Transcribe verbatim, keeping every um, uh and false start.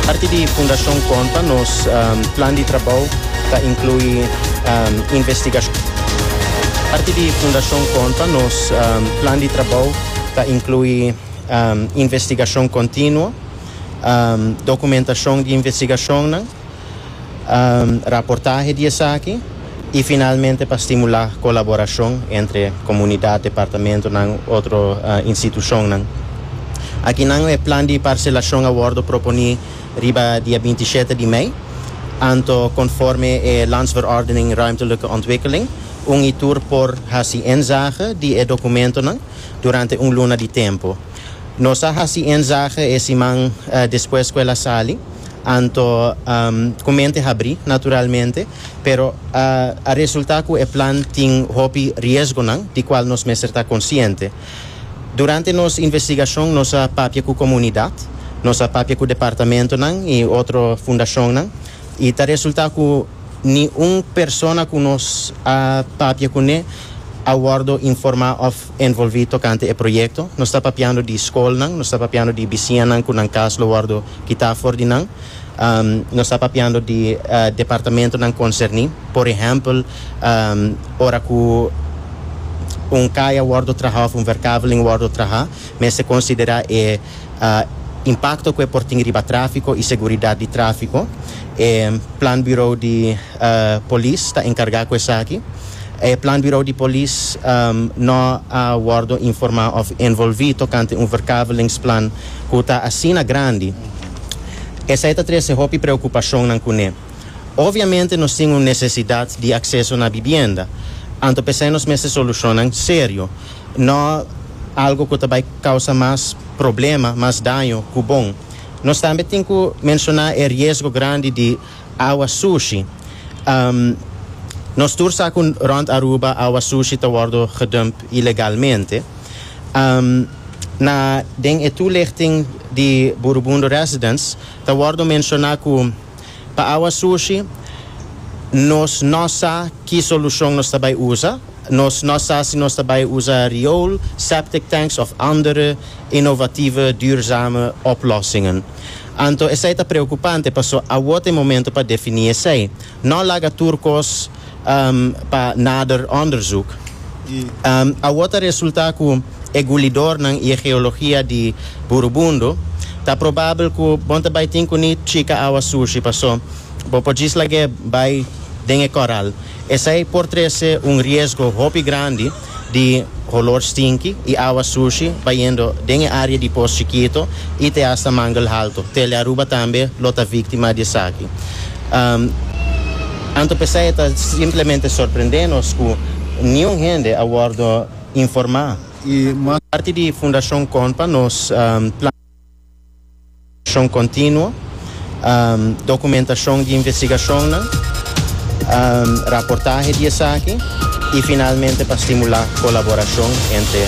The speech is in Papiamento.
Parti di Fundashon Konpa, nos um, plan di trabou ta inkluí um, investigashon. Parti di Fundashon Konpa, nos um, plan di trabou ta inkluí um, investigashon kontinuo, um, dokumentashon di investigashon, um, raportahe di esaki i finalmente pa stimulá kolaborashon entre komunidat, departamento i otro uh, institushon. Aki nan e plan di parselashon a wòrdu proponé riba dia binti shete di mei, anto konforme e Landsverordening Ruimtelijke Ontwikkeling, un i tur por hasi inzage di e dokumentonan durante un luna di tempu. Nos a hasi inzage e siman uh, despues ku el a sali, anto um, ku mente habrí, naturalmente, pero uh, a resultá ku e plan tin hopi riesgonan, di kual nos mester ta konsiente. Durante nos investigashon, nos a papia ku komunidat, nos a papia ku departamentonan i otro fundashonnan, i ta resultá ku ningun persona ku nos a papia kuné a wòrdu informá òf envolví tokante e proyekto. Nos ta papiando di skolnan, nos ta papiando di bisiñanan ku nan kas lo wòrdu kitá for di nan. Um, nos ta papiando di uh, departamentonan konserní. Por ehèmpel, um, ora ku un kaya wòrdu trahá òf un verkaveling wòrdu trahá, mester konsiderá e uh, impakto ku e por tin riba tráfiko i seguridat di tráfiko. E planbureau di uh, polis ta enkargá ku esaki. E planbureau di polis um, no a wòrdu informá òf envolví tokante un verkavelingsplan ku ta asina grandi. Esaki ta trese hopi preokupashonnan kuné. Obviamente nos tin un nesesidat di akseso na bibienda. Anto p'esei nos mester solushonnan serio. No algu ku tambe kousa mas problema, mas daño ku bon. Nos tambe tin ku menshoná e riesgo grandi di awa sushi. Um, nos tur sa ku rònt Aruba awa sushi ta wòrdu gedump ilegalmente. Um, na den e toelichting di Burubundo Residence, ta wòrdu menshoná ku pa awa sushi nos no sa ki solushon nos ta bai usa. Nos no sa si nos ta bai usa riool, septic tanks òf andere innovatieve, duurzame oplossingen. Anto, esei ta preokupante, paso awor ta momento pa definí esei. No laga tur kos um, pa nader onderzoek. Um, awor ta resultá ku e gulidornan i e geologia di Burubundo, ta probabel ku bo n' ta bai tin ku ni chika awa sushi, paso bo por djis lag'é bai den e koral. Esei por trese un riesgo hopi grandi di holor stinky i awa sushi bayendo den e área di Pos Chikito i te hasta Mangel Halto. Tele Aruba tambe lo ta víktima di esaki. Um, anto p'esei ta simplemente sorprendé nos ku ningun hende a wòrdu informá. I mas Parti di Fundashon Konpa, nos um, plan kontinuo, um, dokumentashon di investigashon, um, raportahe di esaki i finalmente pa stimulá kolaborashon entre